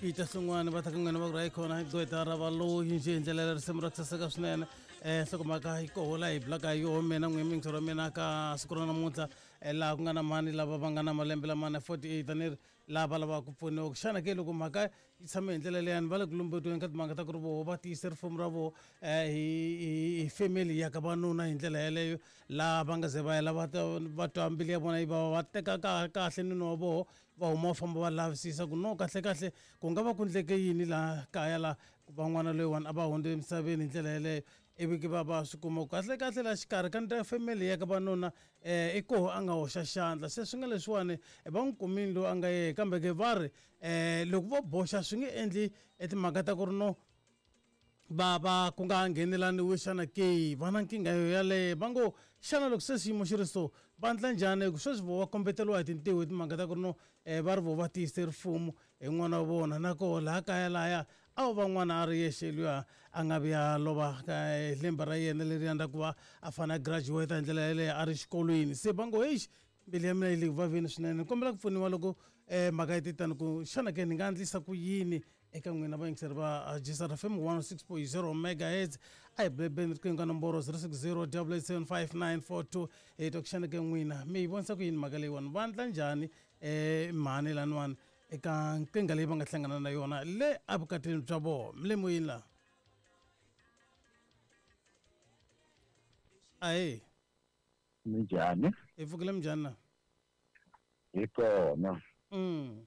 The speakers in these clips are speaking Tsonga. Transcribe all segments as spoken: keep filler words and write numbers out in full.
Peter Hlungwani va ta ka n'wina va ku ri hayikhona hi gqwetha ra valoyi njhe hi ndlela ya risimu ra ku saseka swinene. um nhlokomhaka yi koho laha hi bulaka hi yoho mina n'wini muyingiseri wa mina ka siku ra namuntlha, eh, laha ku nga na mhani lava va nga na malembe lama na forty-eight a ni ri lava lavaka ku pfuniwa. Xana ke loko mhaka yi tshame hi ndlela leyani, va le ku lumbetiweni ka timhaka ta ku ri voho va tiyise rifumo ra voho um hi hi hi family ya ka vanuna hi ndlela yeleyo, laha va nga ze va ya lava va twa mbilu ya vona yi vava, va teka ka kahle nuna wa voho, va huma va famba va lavisisa ku no kahle kahle ku nga va ku ndleke yini laha kaya laha ku va n'wana loyiwani a va hundze emisaveni hi ndlela yeleyo. Ivi ke va va swi kuma ku kahle kahle laha xikarhi ka ndla family ya ka vanuna um i koho a nga hoxa xandla. Se swi nga leswiwani va n'wi kumile loyi a nga yehe, kambe ke va ri um loko vo boxa swi nge endli timhaka ta ku ri no va va ku nga nghenelaniwi. Xana ke va na nkingha yo yaleyo? Va ngo xana loko se xiyimo xi ri so, va endla njhani? Hi ku sweswi vo va kombeteriwa hi tintiho hi timhaka ta ku ri no um va ri vo va tiyise rifumo hi n'wana wa vona, na koho laha kaya lahaya a wu va n'wana a ri yexe luya a nga vuya lova hi lembe ra yena leriya ra ku va a fanele a graduate hi ndlela yeleyo a ri xikolweni. Se va ngo hexi, mbilu ya mina yi le ku vaveni swinene, ni kombela ku pfuniwa loko um mhaka yi te tani ku xana ke ni nga endlisa ku yini. Eka n'wina vayingiseri va J S R F M one oh six point zero megahertz, a hi bebeni riqingho ka nomboro zero six zero eight eight seven five nine four two, hi twa ku xana ke n'wina mi yi vonisa ku yini mhaka leyiwani, va endla njhani um mhani laniwani eka nkingha leyi va nga hlangana na yona le evukatini bya vona. Mi le moyeni laha, ahee. Minjhani? Hi pfukile, minjhani na? Hi kona. mm.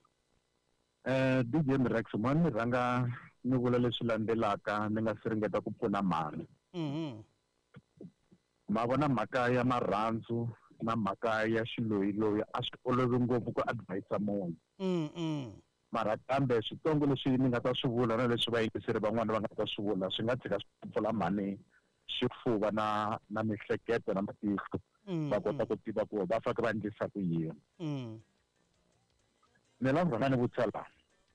eh D J Mrex, mani ni rhanga ni vula leswi landzelaka, ni nga si ringeta ku pfuna mhani. Mm ma vona, mhaka ya marhandzu na mhaka ya xiloyiloyi a swi olovi ngopfu ku advise munhu. Mm mm Mara kambe switsongo leswi ni nga ta swi vula na leswi vayingiseri van'wana va nga ta swi vula swi nga tshika swi pfula mhani xifuva na na mihleketo na matihlo, mm, va kota ku tiva ku va faneke va endlisa ku yini. Mm. Ni lava ku rhanga ni vutisa laha,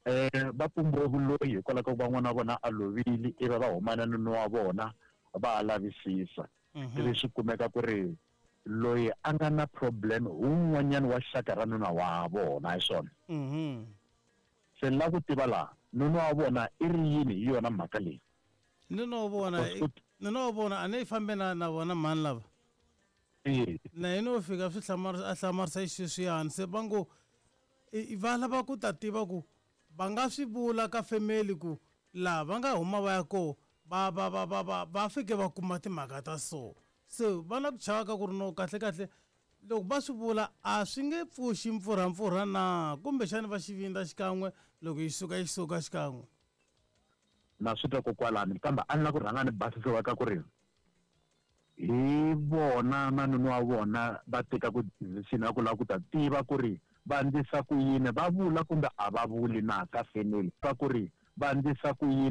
eh va pumbiwe vuloyi hikwalaho ka ku va n'wana wa vona a lovile, ivi va huma na nuna wa vona va lavisisa, Mhm. ivi swi kumeka ku ri loyi a nga na problem hi wun'wanyana wa xaka ra nuna wa vona, hi swona? Mhm. Se ni lava ku tiva laha, nuna wa vona i ri yini hi yona mhaka leyi? Ni no vona. Because ku- Ni no vona, a ni yi fambe na na vona mhani lava. Eh, Na yena u fika swi hlamarisa, a hlamarisa xisweswiyani. Se va ngo i- va lava ku ta tiva ku va nga swi vula ka family ku laha va nga huma va ya koho va va va va va va fike va kuma timhaka ta so. Se va na ku chava ka ku ri no kahle kahle loko va swi vula a swi nge pfuxi mpfurhampfurha na, kumbexani va xivindza xikan'we loko yi suka yi suka xikan'we. Na swi twa kokwalani, kambe a ni lava ku rhanga ni basisiwa ka ku ri hi vona na nuna wa vona va teka ku decision ya ku lava ku ta tiva ku ri va endlisa ku yini, va vula kumbe a va vuli na ka family, va ku ri va endlisa ku yini.